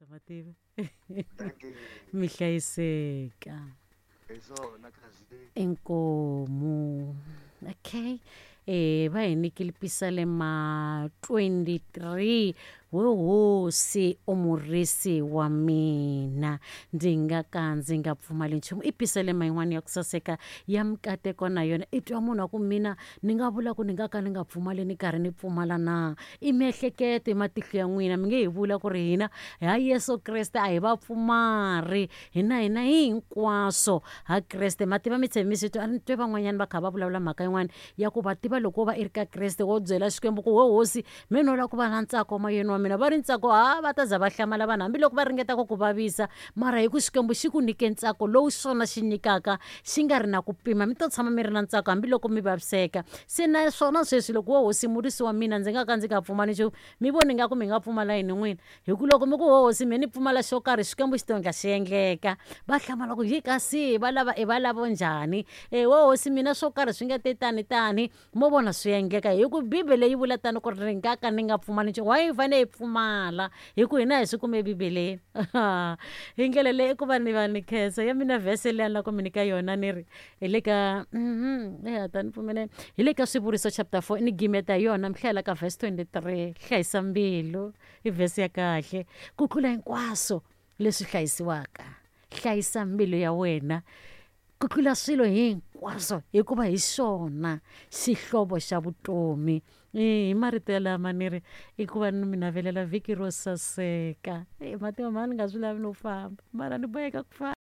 Mativa. Dankie. Mi hlayiseka. Hi swona kahle. Inkomu. Okay. Va hi nyikile Pisalema 23 we hosi u murisi wa mina ndzi nga ka ndzi nga pfumali nchumu. I Pisalema yin'wana ya ku saseka ya mikateko na yona. I twa munhu a ku mina ni nga vula ku ni nga ka ni nga pfumali ni karhi ni pfumala na? I miehleketo i matihlo ya n'wina mi nge hi vula ku ri hina ha Yesu Kreste a hi vapfumari hina hina hi hinkwaswo ha Kreste. Ma tiva mi tshembi mi swi twa a ni twe van'wanyana va kha va vulavula mhaka yin'wana ya ku va tiva loko wo va i ri ka Kreste wo byela Xikwembu ku we hosi me no lava ku va na ntsako moyeni wa mina va ri ntsako ha va ta za va hlamala vanhu hambiloko va ringeta ku ku vavisa mara hi ku Xikwembu xi ku nyike ntsako lowu xona xi nyikaka xi nga ri na ku pima mi to tshama mi ri na ntsako hambiloko mi vaviseka. Se na swona sweswi loko wo hosi murisi wa mina ndzi nga ka ndzi nga pfumali nchumu mi voni nga ku mi nga pfumala yini n'wina hi ku loko mi ku ho hosi me ni pfumala xo karhi Xikwembu xi to endla xi endleka. Va hlamala ku yi kasi va lava i va lavo njhani e wo hosi mina swo karhi swi nga te tani tani mo vona swi endleka hi ku Bibele yi vula tano ku ri nga ka ni nga pfumali nchumu. Why hi fanele hi pfumala hi ku hina hi swi kume Bibeleni. Hi ndlela leyi i ku va ni va ni khensa ya mina vhese leyi a ni lava ku mi nyika yona ni ri hi le ka eya ta ni pfumelela hi le ka Swivuriso chapter 4 ni gimeta hi yona mi hlayela ka verse 23 hlayisa mbilu i vhese ya kahle ku tlula hinkwaswo leswi hlayisiwaka hlayisa mbilu ya wena ku tlula swilo hinkwaswo hikuva hi xona xihlovo xa vutomi. Hi marito yalama ni ri i ku va ni mi navelela vhiki ro saseka. Mativa mhani ni nga swi lavi no famba mara ni boheka ku famba.